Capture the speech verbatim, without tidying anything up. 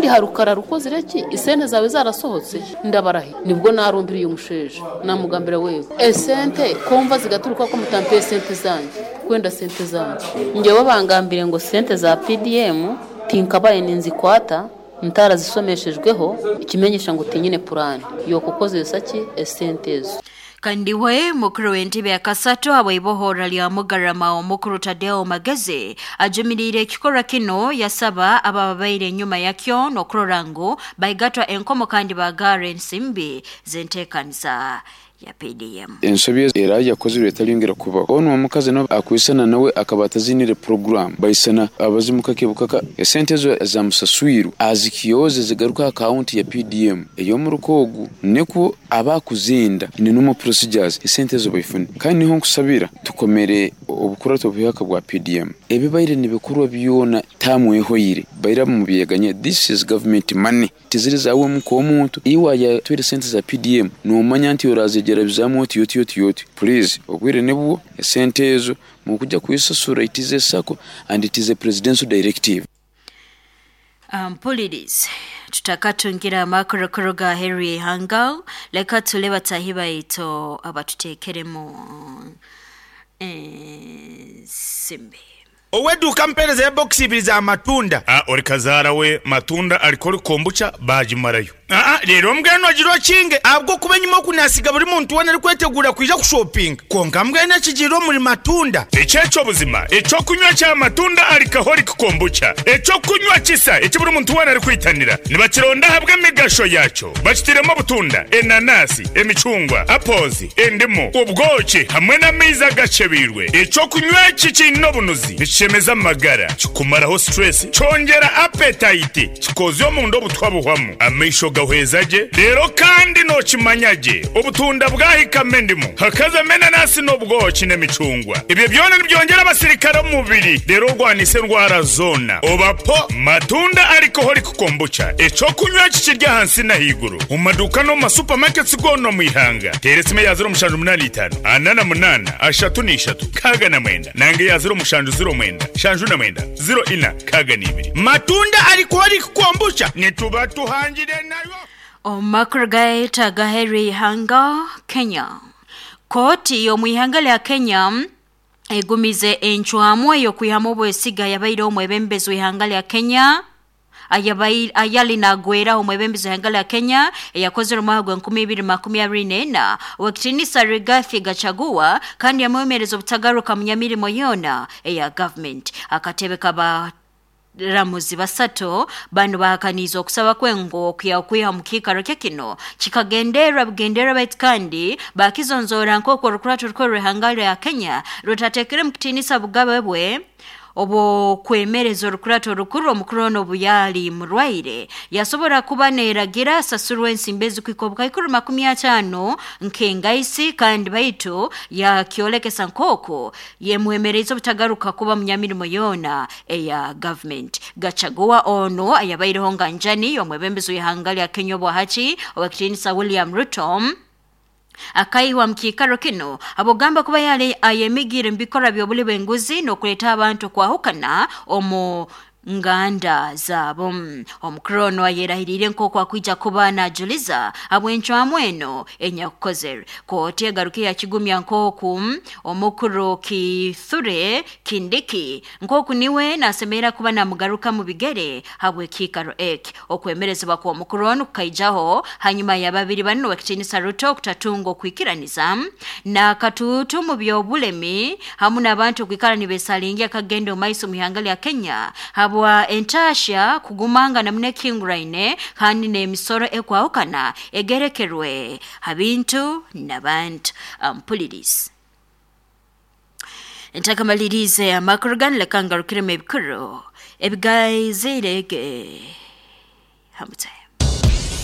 Harukara rukozire ki isente zawe zarasohotse? Ndabarahi nibwo narumbiriye umusheje, namugambira: "Wewe, esente komva zigaturuka ko mutampe sente zanjye, kwenda sente zanjye." Njyewe bangambire ngo sente za P D M tinkabaye ninzikwata ntarazisomeshejweho, ikimenyesha ngo tinyine purani yo kukozesa ki esente ezo. Kandi we mukuru w'entebe ya kasatu habw'ibohora lya Mugarama, omukuru Tadeo Magezi, ajumirire ekikorwa kino, yasaba abababaire enyuma yakyo n'okurora ngu baigatwa enkomo kandi bagara ensimbi z'enteekaniza ya P D M. Ensobi era yakozire etalyongera kubaho. Ono omukazi no akwisana nawe akaba atazinire program baisana abazimu kake bukaka. Esente ezo zamusaswiru azikiyoze zigaruka account ya P D M ey'omuruko ogu, nikwo abakuzinda ni normal procedures, esente ezo baifune. Kandi niho nkusabira tukomere obukurato obuhyaka bwa P D M, ebibaire nibikorwa byona tamwehoire baira mu byeganye. This is government money, tiziri zawe nk'omuntu. Iwa yatwire sente za P D M, nomanya nti orazegera bizamu oti oti oti oti. Please, obwire nibwo esente ezo mukujja kuisasura. It is a SACCO and it is a presidential directive. Mpulirize, tutakatungira amakorokoro ga Henry Hangal, leka tule batahi baitu abatutekeremu ensimbi. Owedduuka, mpeereza ebokisi ibiri za matunda. Ah, ori kazaara we, matunda alikori kombucha bagimarayo. Aa, leero mbwenu ogira okinge ahabw'okuba enyuma okunasiga buri muntu weena arikwetegura kwija kushopinga, konka mbwenu ekigiire omuri matunda. Ekyekyo buzima ekyokunywa kya matunda alcoholic kombucha, ekyokunywa kisa eki buri muntu weena arikwitanira, nibakironda ahabw'emigasho yakyo. Bakitiremu obutunda, enanasi, emicungwa, apples, endimu, obwoki hamwe n'amaizi agacebiirwe. Ekyokunywa eki kiine obunuzi, nikishemeza amagara, kikumaraho stress, kyongera appetite, kikozya omunda obutwa buhwamu, amaisho gahweza gye. Rero kandi nokimanya gye, obutunda bwahikamo endimu, hakazamo enanasi n'obwoki n'emicungwa, ebyo byona nibyongera abasirikare omu mubiri, rero orwanisa endwara zoona. Obapo matunda alcoholic kombucha, ekyokunywa kikirya ahansi n'ahaiguru mu maduuka no mu masupamaketi goona omu ihanga. Teera esimu eya zero mushanju munaana itaano ana na munaana ashatu n'ishatu kaaga na mwenda, nange ya zero mushanju zero mwenda shanju na mwenda zero ina kaaga n'ibiri. Matunda alcoholic kombucha, nituba tuhangire nayo. Omumakuru gaeta ga Henry Hanga, Kenya, kooti y'omu ihanga lya Kenya egumize encwamu ey'okwihamu obwesiga yabaire omwebembezi w'ihanga lya Kenya ayabai- ayali nagweraho omwebembezi w'ihanga lya Kenya eyakozere omwaka gwa enkumi ibiri makumi abiri n'ena, owekitinisa Rigathi Gachagua, kandi yamwemereza obutagaruka munyamirimo yoona eya government. Akatebe kaba ramuzi basatu bano bahakaniza okusaba kwengo okya okwiha mu kiikaro kye kino kikagenderwa bugenderwa, baitu kandi bakizonzora nk'oku orukurato rukuru rw'ihanga lya Kenya rutatekere mu kitiinisa bugabe bwe obwokwemereza orukurato rukuru. Omukuru ono obu yali murwaire yasobora kuba neeragira asasurwa ensimbi ezikuhika obukaikuru makumi ataano nk'engaisi, kandi baitu yakyolekesa nk'oku yemwemereza obutagaruka kuba munyamirimo yoona eya government. Gachagua ono ayabaireho nga njani omwebembezi w'ihanga lya Kenya obwahati, owekitiinisa William Ruto, akaihwa mu kiikaro kino abogamba kuba yali ayemigire mu bikorwa by'obuli bw'enguzi n'okuleeta abantu kwahukana omu nganda zaabo. Omukuru ono ayerahirire nk'oku akwija kuba najuliza habw'encwamu eno enyakukozere. Kooti egaruke yakigumya nk'oku omukuru Kithure Kindiki nk'oku niwe nasemerera kuba namugaruka mu bigere habw'ekiikaro eki. Okwemerezebwa kw'omukuru ono kukaijaho hanyuma ya babiri bano, wekitiinisa Ruto, okutatunga okwikiraniza n'akatuutu mu by'obulemi hamu n'abantu okwikara nibesalingia akagenda omu maiso mu ihanga lya Kenya habwa entasha kugumanga namuno ekihinguraine kandi n'emisoro ekwahukana egerekerwe ha bintu n'abantu. Mpulirizi, ntakamalirize amakuru ganu, leka ngarukiremu ebikuru ebigaizire ge hamutwe.